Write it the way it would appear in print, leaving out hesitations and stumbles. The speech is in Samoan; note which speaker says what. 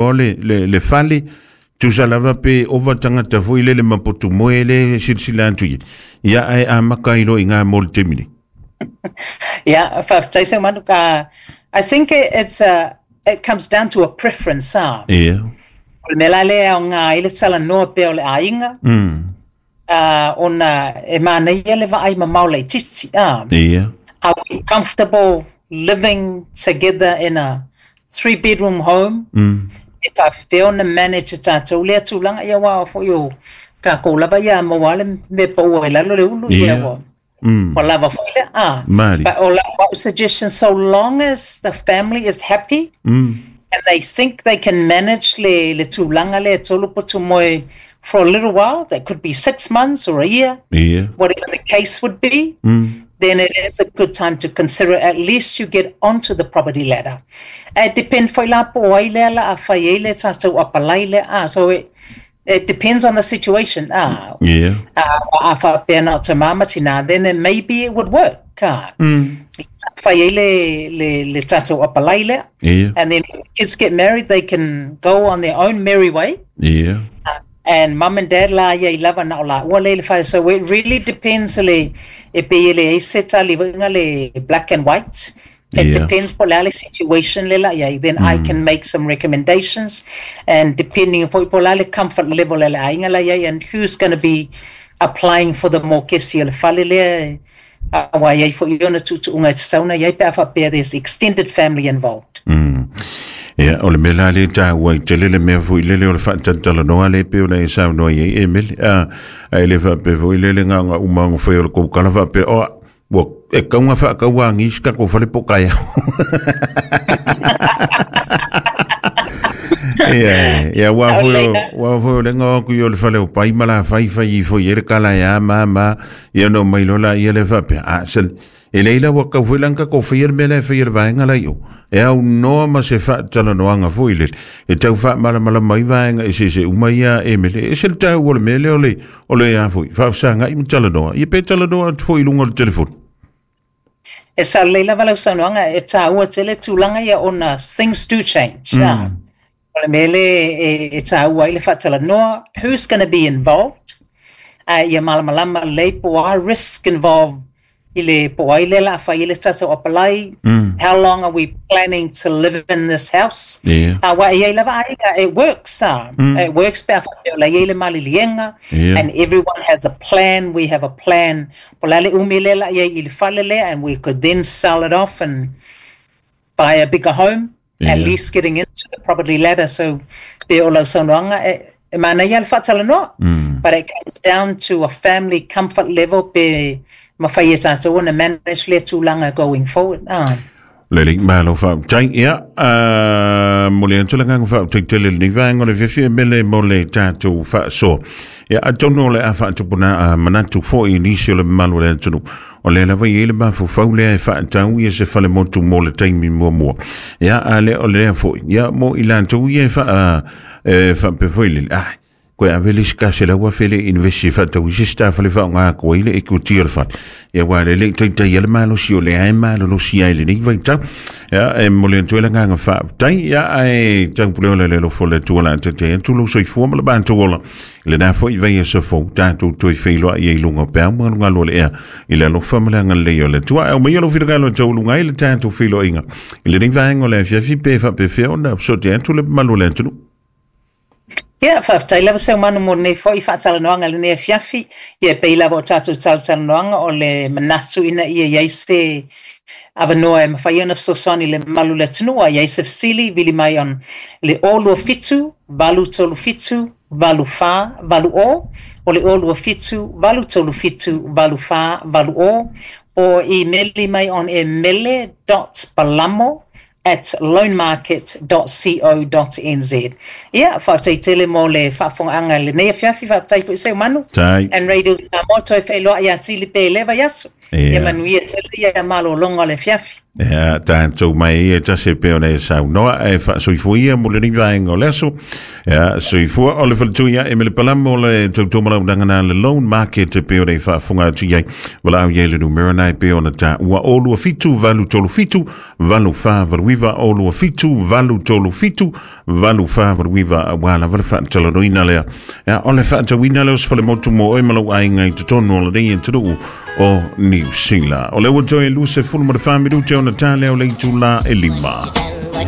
Speaker 1: loa le, le, le fale, tusa lava pe ova tagata foi lele ma potu moe le silasila atu i ai. Ia, ae amaka ai loa i ina mo le taimi nei.
Speaker 2: Yeah, faafetai Seumanu. I think it's a, it comes down to a preference, ah.
Speaker 1: Ia.
Speaker 2: O le mea la lea e aoga ai le talanoa pea o le aiga. Ona e manaia le vaai mamao laitiiti, ah.
Speaker 1: Ia.
Speaker 2: Are we comfortable living together in a 3 bedroom home? E faafefea ona manage e tatou lea tulaga, ia aua foi o tatou lava ia maua lava le mea paua i lalo le ulu, ia ua ua lava foi lea, ah.
Speaker 1: Mali.
Speaker 2: But o lau suggestion, so long as the family is happy and they think they can manage le tulaga lea e tolu potu moe for a little while, that could be 6 months or a year, whatever the case would be, then it is a good time to consider. At least you get onto the property ladder. E depend foi la po o ai lea la a fai ai le tatou apply lea, ah, so it depends on the situation, ah. A faapea na o tamā ma tinā, then maybe it would work, ah. Fai ai le tatou apply lea. And then when kids get married, they can go on their own merry way. And mum and dad la ia i lava na o la ua le le whai. So it really depends le e pe le e se tali le black and white. It depends po le situation le la ia. Then I can make some recommendations, and depending foi po le comfort level le aiga la ia and who's going to be applying for the mokesi o le fale lea aua ia foi ona tuutuuga e tatau ona i ai pe a faapea there's extended family involved.
Speaker 1: Ia, o le mea la lea e taua ai tele le mea foi lele o le faatalatalanoa lea e pei ona e saunoa i ai e Mele. A, ae le faapea foi lele gaoga uma ona fai o le koukala faapea, o, ua e kauga faakauāgi si tatou fale po o taeao. Ia, ia, ua foi o, ua foi o le ngaoa atu i o le fale o pai ma la fai fai ifo i ai le kala e a ma ma, ia ona omai loa laia lea faapea, a, sole, e leai la ua tatau foi la ona tatou faia le mea la e faia e le vaega la i o, e aunoa ma se faatalanoaga foi lele, e tau faamalamalama ai vaega eseese uma ia e Mele. E ese le taua o le mea lea o le, o le a foi, faafesagai ma talanoa, ia pe talanoa atu foi i luga o le telefoni.
Speaker 2: E sao lelei lava lau saunoaga, e taua tele tulaga ia ona things do change. O le mea lea e taua ai le faatalanoa, who's going to be involved, ia malamalama lelei po o a risk involved i le po o ai lea o le a fai ai le tatou apply, how long are we planning to live in this house? Aua e i ai lava aiga, it works, ah. It works pe a faapea o la e i ai le maliliega, and everyone has a plan, we have a plan, po o le a le umi lea o le a i ai i le fale lea, and we could then sell it off and buy a bigger home, at least getting into the property ladder. So pe o lau saunoaga e manaia le faatalanoa, but it comes down to a family comfort level pe mafai e tatou ona manage lea tulaga going forward. Ah.
Speaker 1: Lelei, malo faafetai. Ia, momoli atu le agaga faafetai tele i lenei vaega o le afiafi e Mele mo le tatou faasoa. Ia, atonu o le a faatupuna manatu foi i nisi o le mamalu o le atunuu. O lea lava e i ai le mafaufau lea e faatau ia se fale motu mo le taimi muamua. Ia, a le o lea foi, ia, mo i latou ia e faa, e faapea foi lele, ah, koe ave le isi $100,000 le invest e faatau i se isi ta fale faaaoga atu ai le equity o le fale. Ia aua le le i taitaia le malosi o lea e malolosi ai i lenei vaitau. Ia, e momoli atu ai le agaga faafetai. Ia, ae taupule ola i le alofa o le Atua o le a taitai atu lou soifua ma le matou ola. I lena foi vaiaso fou, tatou toe feiloai ai i luga o peau magalugalo o le ea i le alofa ma le agalelei o le Atua. Ae aumaia lou finagalo e taualuga ai le tatou feiloaiga i lenei vaega o le afiafi pe faapefea ona fesoatai atu le mamalu o le atunuu.
Speaker 2: Ia, faafetai lava Seumanu mo lenei foi faatalanoaga i lenei afiafi. Ia, e pei lava o tatou talatalanoaga o le manatu ina ia i ai se avanoa e mafai ona fesoasoani i le mamalu o le atunuu, a i ai se fesili, vili mai on le 027 837 8480, o le 027 837 8480, o imeli mai on e mele.palamo@loanmarket.co.nz. Ia, faafetai tele mo le faafofogaaga i lenei afiafi, faafetai foi Seumanu.
Speaker 1: Tai.
Speaker 2: And Radio Samoa toe feiloai ia Tili pe le vaiaso. Ia manuia tele ia malologa o le afiafi.
Speaker 1: Ia, tatou mai ia tasi e pei ona e saunoa ae faasoifua ia mo lenei vaega o le aso. Ia, soifua o le faletui ia e Mele Palamo o le tautua malaunaga na le Loan Market e pei ona e faafofoga atu i ai. Valaau i ai le numera na e pei ona taua o 27 8 37 8 4 8 9 o 27 8 37 8 4 8 9 auā lava le faatalanoaina lea. Ia, o le faatauina lea o se falemotu mo oe ma lou aiga i totonu o lenei atunuu o Niu Sila. O lea ua toe 24 minute ona tā lea o le itulā e 5.